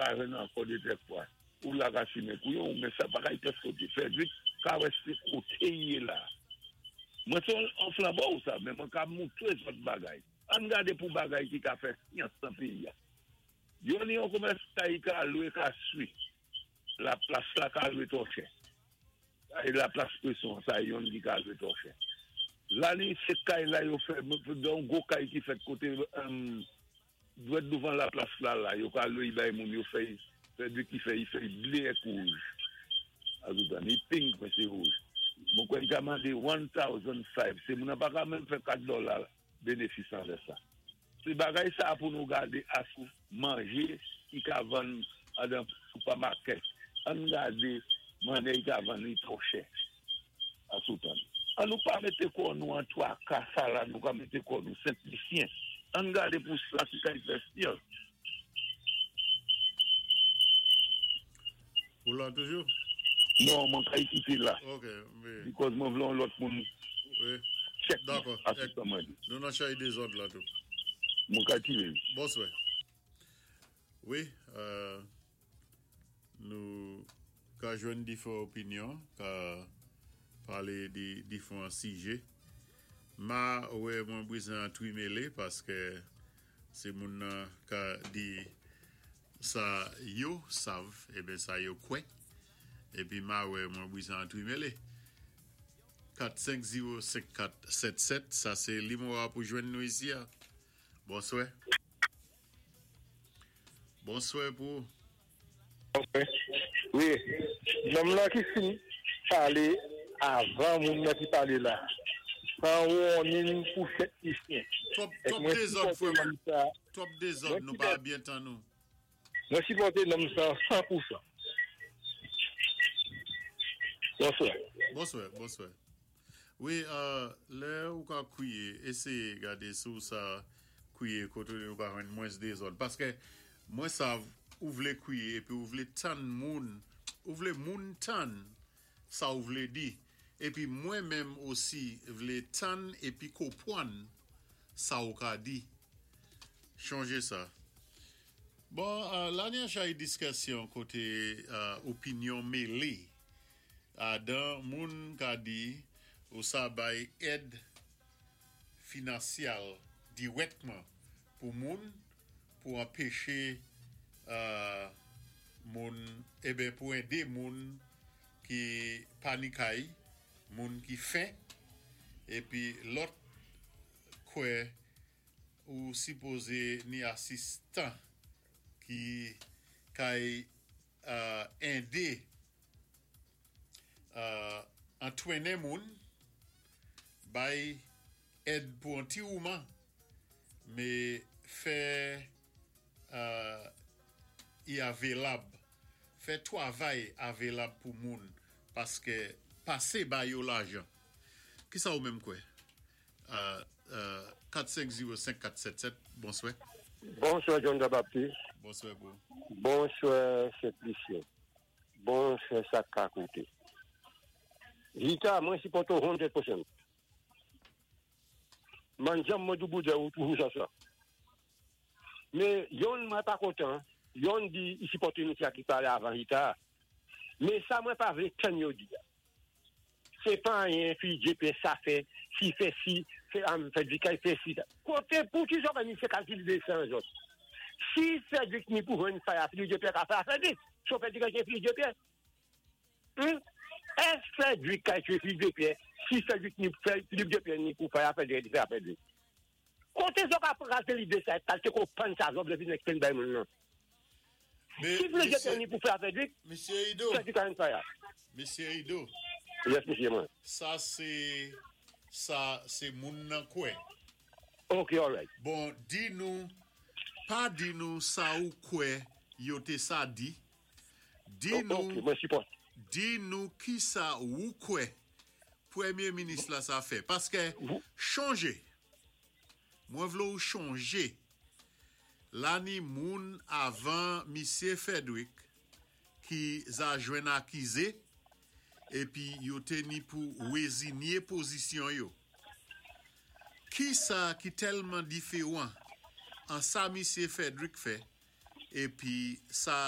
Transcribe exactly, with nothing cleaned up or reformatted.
ka jwenn ankò de tèt fwa. Ou la ka simen kouyon, men sa pa ka y pès koté. Frederick ka résté koté i yé la. Mwen sé an flanbo ou sa, men mwen ka moutré zòt bagay. Ann gadé pou bagay ki ka fè syans nan péyi a. Yo ni yon komès kay ka lwé ka swi. La plas la ka lwé twò chè. E la plas preson, sa yon ki ka lwé twò chè. La ni sé kay la yo fè, don gwo kay ki fèt koté um, dwèt douvan la plas la la, yo ka lwé bay moun yo fè, fè ki fè, fè blé ak wouj. Azoutan, ni pink men sé wouj. Mwen kwè li ka mandé mil senk san, sé moun nan pa ka menm fè kat dola bénéfis an lè sa. Sé bagay sa pou nou gadé asou manjé ki ka vann adan supermarket. Ann gadé mannè i ka vann li twò chè. Asoutan. An nou pa mété kò nou an twa ka sa la, nou ka mété kò nou Sent-Lisyen. Ann gadé pou sa ki ka fè syans. Ou la toujou? Non, mwen ka kité la. Ok, men... Because mwen vlé yon lòt moun Wi. check Dakò. Asoutan mwen. Nou nan chay dézòd la tou. Mwen ka tiré. Bonswè. Wi, euh, nou ka jwenn diféwan opinyon, ka palé di diféwan sijè. Ma wè mwen bizwen twimélé paské sé moun nan ka di sa yo sav, eben sa yo kwè. Épi ma wè mwen bizwen twimélé. kat senk zewo senk kat sèt sèt, sa sé nimewo pou jwenn nou isi a. Bonswè. Bonswè pou Wi, nonm la ki fin palé avan moun nan ki palé la. San warning pou Sent-Lisyen. Twòp twòp dézòd frè mwen. Twòp dézòd nou pa byen tann nou. Mwen sipòté nonm sa san pou san. Bonswè. Bonswè, bonswè. Wi, euh, lè ou ka kwiyé, éséyé gadé sou sa kwiyé koté ou ka jwenn mwens dézòd. Paské mwen sav ou vlé kwiyé épi ou vlé tann moun, ou vlé moun tann sa ou vlé di. Épi mwen menm osi vlé tann épi konpwann sa ou ka di. Chonjé sa. Bon, euh, la ni chay diskisyon koté euh, opinyon mélé. Adan moun ka di ou sa bay èd finansyal dirèkman pou moun pou anpéché euh, moun eben pou édé moun ki pa ni kay, moun ki fen épi lòt kwè ou sipozé ni asistan ki kay euh, édé euh, antwénen moun bay èd pou an ti mouman mé fè euh, i avelab fè twavay avelab pou moun paské pasé ba yo lajan ki sa ou menm kwè euh, euh, kat senk zewo senk kat sèt sèt, bonswè. Bonswè John Baptiste. Bonswè pou Bonswè Sent-Lisyen. Bonswè sa ka kouté. Rita, mwen sipòté ou san pou san. Man janm mwen dou ou toujou sa sa. Mé yonn mwen pa kontan, yonn di i sipòté nou ki palé avan Rita. Mé sa mwen pa vlé tann yo di. Sé pa anyen fi J P sa fè, si fè si, fè am fè di kay fè si. Koté pou ki zòt ni sé kalkil de san zòt. Si Frédéric ni pou jwenn faya Philippe J P ka fè Frédéric. So Frédéric ka Philippe J P. Hum? Est Frédéric ka Philippe J P, si Frédéric ni Philippe J P ni pou faya Frédéric fè Frédéric. Koté zòt ka raté lidé sa, kalté konpwann sa zòt vlé vin explain bay moun nan. Mais, Si Philippe J P ni pou fè Frédéric, Mesye Ido, Frédéric ka faya. Mesye Ido, Yes, mesye mwen. sa sé sa sé moun nan kwè. Ok, all right. Bon, di nou, pa di nou sa ou kwè yo té sa di. Di Ok, nou, mwen sipòté. Di nou ki sa ou kwè Pwémyé minis la sa fè. Paské chonjé. Mwen vlé ou chonjé. La ni moun avan Misye Frederick ki za jwenn akizé épi yo té ni pou wézinyé pozisyon yo. Ki sa ki tèlman diféwan an sa Misye Frederick fè épi sa